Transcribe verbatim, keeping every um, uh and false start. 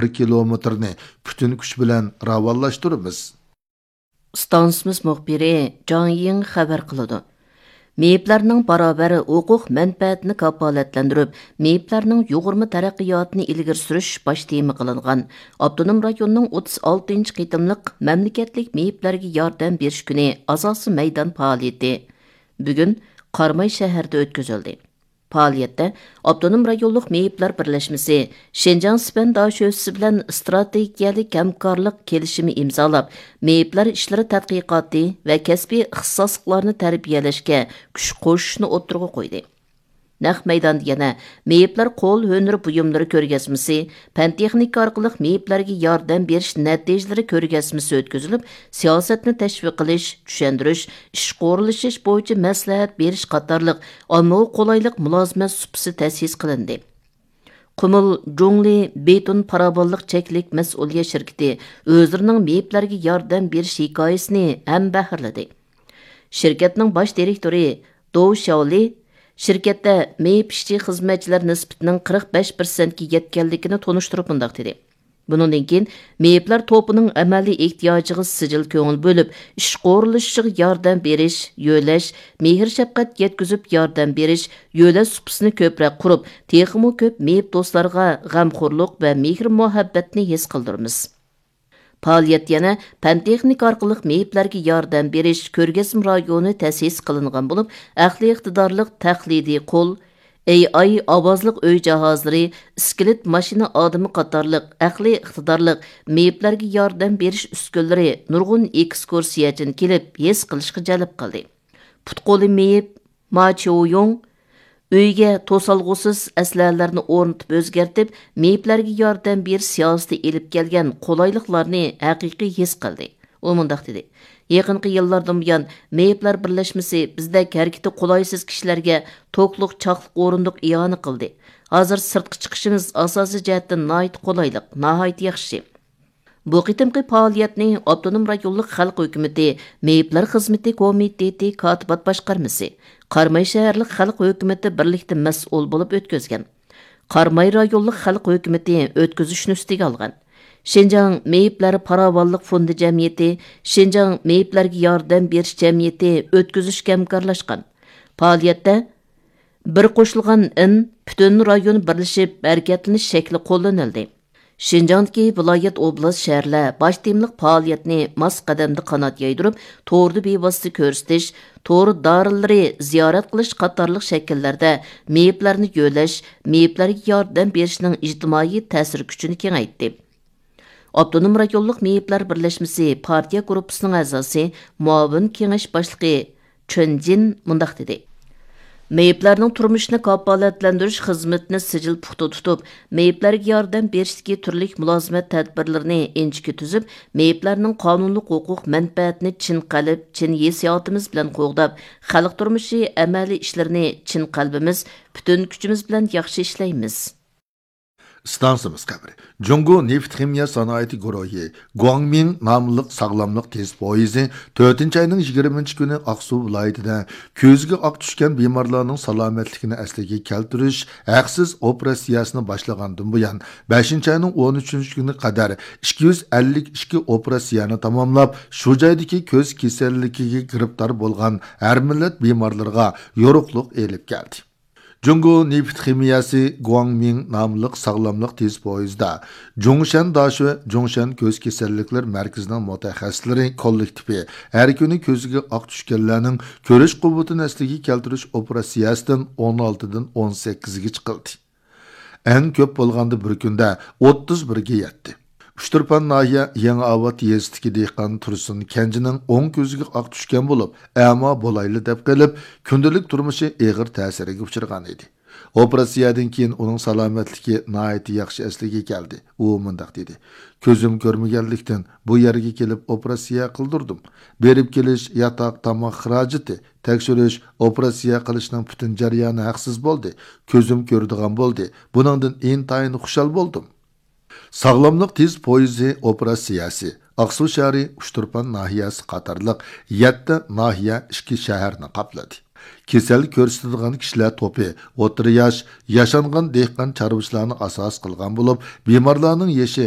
بىر كىلومېتىرنى پۈتۈن كۈچ بىلەن راۋانلاشتۇرىمىز. ئىستانسىمىز مۇخبىرى جاڭ يىڭ خەۋەر قىلىدۇ. مېيىپلەرنىڭ باراۋەر ھوقۇق مەنپەئەتىنى كاپالەتلەندۈرۈپ، مېيىپلەرنىڭ يۇغۇرما تەرەققىياتىنى ئىلگىرى سۈرۈش باش تېما قىلىنغان ئاپتونوم رايوننىڭ ئوتتۇز ئالتىنچى قېتىملىق مەملىكەتلىك مېيىپلەرگە ياردەم بېرىش كۈنى ئاساسىي مەيدان پائالىيىتى بۈگۈن قاراماي شەھىرىدە ئۆتكۈزۈلدى. پائالىيەتتە ئاپتونوم رايونلۇق مېيىپلەر بىرلەشمىسى، شىنجاڭ سىپەن داشۆسىسى بىلەن ئىستراتېگىيەلىك ھەمكارلىق كېلىشىمى ئىمزالاپ، مېيىپلەر ئىشلىرى تەتقىقاتى ۋە كەسپىي ئىختىساسلىقلارنى تەربىيەلەشكە كۈچ قوشۇشنى ئوتتۇرىغا قويدى. نەق مەيداندا يەنە مېيىپلەر قول ھۈنىرى بۇيۇملىرى كۆرگەزمىسى، پەن تېخنىكا ئارقىلىق مېيىپلەرگە ياردەم بېرىش نەتىجىلىرى كۆرگەزمىسى ئۆتكۈزۈلۈپ، سىياسەتنى تەشۋىق قىلىش، چۈشەندۈرۈش، ئىشقا ئورۇنلىشىش بويىچە مەسلىھەت بېرىش قاتارلىق ئاممىغا قولايلىق مۇلازىمەت سۇپىسى تەسىس قىلىندى. قۇمۇل جۇڭلى بېتون پاراۋانلىق چەكلىك مەسئۇلىيەت شىركىتى ئۆزلىرىنىڭ مېيىپلەرگە ياردەم بېرىش ھېكايىسىنى ھەمبەھىرلىدى. شىركەتنىڭ باش دىرېكتورى دو شياۋلى شىركەتتە مېيىپ ئىشچى خىزمەتچىلەر نىسبىتىنىڭ قىرىق بەش پىرسەنتكە يەتكەنلىكىنى تونۇشتۇرۇپ مۇنداق دېدى: بۇنىڭدىن كېيىن مېيىپلەر توپىنىڭ ئەمەلىي ئېھتىياجىغا سىجىل كۆڭۈل بۆلۈپ، ئىشقا ئورۇنلىشىشىغا ياردەم بېرىش، يۆلەش، مېھىر-شەپقەت يەتكۈزۈپ ياردەم بېرىش، يۆلەش سۇپىسىنى كۆپرەك قۇرۇپ، تېخىمۇ كۆپ مېيىپ دوستلارغا غەمخورلۇق ۋە مېھىر-مۇھەببەتنى ھېس قىلدۇرىمىز. پائالىيەت يەنە پەن-تېخنىكا ئارقىلىق مېيىپلەرگە ياردەم بېرىش كۆرگەزمە رايونى تەسىس قىلىنغان بولۇپ، ئەقلىي ئىقتىدارلىق تەقلىدىي قول، ئېي ئاي ئاۋازلىق ئۆي جاھازلىرى، ئىسكىلېت ماشىنا ئادىمى قاتارلىق ئەقلىي ئىقتىدارلىق مېيىپلەرگە ياردەم بېرىش ئۈسكۈنىلىرى نۇرغۇن ئېكسكۇرسىيەچىنى كېلىپ ھېس قىلىشقا جەلپ قىلدى. پۇت-قولى مېيىپ ما چيۇيۇڭ ئۆيگە توسالغۇسىز ئەسلىھەلەرنى ئورنىتىپ ئۆزگەرتىپ، مېيىپلەرگە ياردەم بېرىش سىياسىتى ئېلىپ كەلگەن قولايلىقلارنى ھەقىقىي ھېس قىلدى. ئۇ مۇنداق دېدى: يېقىنقى يىللاردىن بۇيان، مېيىپلەر بىرلەشمىسى بىزدەك ھەرىكىتى قولايسىز كىشىلەرگە توكلۇق چاقلىق ئورۇندۇق ئىئانە قىلدى. ھازىر سىرتقا چىقىشىمىز ئاساسىي جەھەتتىن ناھايىتى قولايلىق، ناھايىتى ياخشى. بۇ قېتىمقى پائالىيەتنى ئاپتونوم رايونلۇق خەلق ھۆكۈمىتى مېيىپلەر خىزمىتى كومىتېتى كاتىبات باشقارمىسى، قاراماي شەھەرلىك خەلق ھۆكۈمىتى بىرلىكتە مەسئۇل بولۇپ ئۆتكۈزگەن. قاراماي رايونلۇق خەلق ھۆكۈمىتى ئۆتكۈزۈشنى ئۈستىگە ئالغان. شىنجاڭ مېيىپلەر پاراۋانلىق فوندى جەمئىيىتى، شىنجاڭ مېيىپلەرگە ياردەم بېرىش جەمئىيىتى ئۆتكۈزۈشكە ھەمكارلاشقان. پائالىيەتتە بىر قوشۇلغان ئىن پۈتۈن رايون بىرلىشىپ ھەرىكەتلىنىش شەكلى قوللىنىلدى. شىنجاڭدىكى ۋىلايەت، ئوبلاست، شەھەرلەر باش تېمىلىق پائالىيەتنى ماس قەدەمدە قانات يايدۇرۇپ، توردا بىۋاسىتە كۆرسىتىش، تور دارىلىرى زىيارەت قىلىش قاتارلىق شەكىللەردە مېيىپلەرنى يۆلەش، مېيىپلەرگە ياردەم بېرىشنىڭ ئىجتىمائىي تەسىر كۈچىنى كېڭەيتتى. ئاپتونوم رايونلۇق مېيىپلەر بىرلەشمىسى پارتىيە گۇرۇپپىسىنىڭ ئەزاسى، مۇئاۋىن كېڭەش باشلىقى چۈن جىن مۇنداق دېدى: مېيىپلەرنىڭ تۇرمۇشىنى كاپالەتلەندۈرۈش خىزمىتىنى سىجىل پۇختا تۇتۇپ، مېيىپلەرگە ياردەم بېرىشتىكى تۈرلۈك مۇلازىمەت تەدبىرلىرىنى ئىنچىكە تۈزۈپ، مېيىپلەرنىڭ قانۇنلۇق ھوقۇق مەنپەئەتىنى چىن قەلب، چىن ھېسسىياتىمىز بىلەن قوغداپ، خەلق تۇرمۇشى ئەمەلىي ئىشلىرىنى چىن قەلبىمىز، پۈتۈن كۈچىمىز بىلەن ياخشى ئىشلەيمىز. ئىستانسىمىز خەۋىرى. جۇڭگو نېفىت خىمىيە سانائىتى گۇرۇھى گۇاڭمىڭ ناملىق ساغلاملىق تېز پويىزى تۆتىنچى ئاينىڭ يىگىرمىنچى كۈنى ئاقسۇ ۋىلايىتىدە كۆزىگە ئاق چۈشكەن بىمارلارنىڭ سالامەتلىكىنى ئەسلىگە كەلتۈرۈش ھەقسىز ئوپېراتسىيەسىنى باشلىغاندىن بۇيان، بەشىنچى ئاينىڭ ئون ئۈچىنچى كۈنى قەدەر ئىككى يۈز ئەللىك ئىككى ئوپېراتسىيەنى تاماملاپ، شۇ جايدىكى كۆز كېسەللىكىگە گىرىپتار بولغان ھەر مىللەت بىمارلىرىغا يورۇقلۇق ئېلىپ كەلدى. جۇڭگو نېفىت خىمىيەسى گۇاڭمىڭ ناملىق ساغلاملىق تېز پويىزدا جۇڭشەن داشۆ جۇڭشەن كۆز كېسەللىكلىرى مەركىزىنىڭ مۇتەخەسسىسلىرى كوللېكتىپى ھەر كۈنى كۆزىگە ئاق چۈشكەنلەرنىڭ كۆرۈش قۇۋۋىتىنى ئەسلىگە كەلتۈرۈش ئوپېراتسىيەسىدىن ئون ئالتىدىن ئون سەككىزگە چىقىلدى. ئەڭ كۆپ بولغاندا بىر كۈندە ئوتتۇز بىرگە يەتتى. ئۇچتۇرپان ناھىيە يېڭى ئاۋات يېزىسىدىكى دېھقان تۇرسۇن كەنجىنىڭ ئوڭ كۆزىگە ئاق چۈشكەن بولۇپ، ئەما بولايلى دەپ قېلىپ، كۈندىلىك تۇرمۇشى ئېغىر تەسىرگە ئۇچرىغان ئىدى. ئوپېراتسىيەدىن كېيىن ئۇنىڭ سالامەتلىكى ناھايىتى ياخشى ئەسلىگە كەلدى. ئۇ مۇنداق دېدى: كۆزۈم كۆرمىگەنلىكتىن، بۇ يەرگە كېلىپ ئوپېراتسىيە قىلدۇردۇم. بېرىپ كېلىش، ياتاق، تاماق خىراجىتى، تەكشۈرۈش، ئوپېراتسىيە قىلىشنىڭ پۈتۈن جەريانى ھەقسىز بولدى. كۆزۈم كۆرىدىغان بولدى. بۇنىڭدىن ئىنتايىن خۇشال بولدۇم. ساغلاملىق تېز پويىزى ئوپېراتسىيەسى ئاقسۇ شەھىرى، ئۇچتۇرپان ناھىيەسى قاتارلىق يەتتە ناھىيە، ئىككى شەھەرنى قاپلىدى. كېسەل كۆرسىتىدىغان كىشىلەر توپى ئوتتۇرا ياش، ياشانغان دېھقان چارۋىچىلارنى ئاساس قىلغان بولۇپ، بىمارلارنىڭ يېشى